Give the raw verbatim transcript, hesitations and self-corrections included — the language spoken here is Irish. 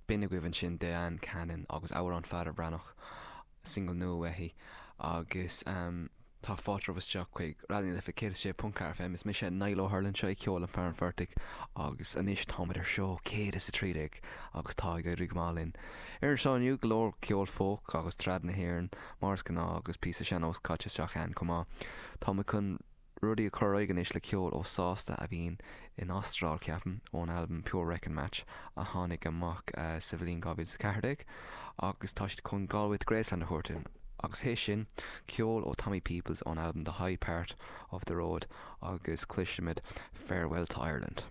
B'in agaibh ansin Diane Cannon agus amhrán Fada Breathnach single nua uaithi agus um, tá fáilte isteach chuig Raidió na Life céad sé ponc ceathair FM is mise Niall Ó hUrlain seo ceol an fear an phortaigh agus anois táimid ar seó céad is a trí déag agus tá ag éirí go maith linn. Ar an seó inniu go leor ceol folk agus trad na hÉireann mar is gnáth agus píosa sean-nós caite isteach ann chomh maith. Tá mé chun rudaí a chur anois le ceol ó Sásta a bhíonn in Astráil ceapaim ón albam Pure Wrecking Match a tháinig amach uh, sa bhliain dhá mhíle ceathair déag agus tá siad chun Galway to Graceland a thabhairt agus théis sin ceol ó Tommy Peoples ón album The High Part of the Road agus cloisfimid Farewell to Ireland.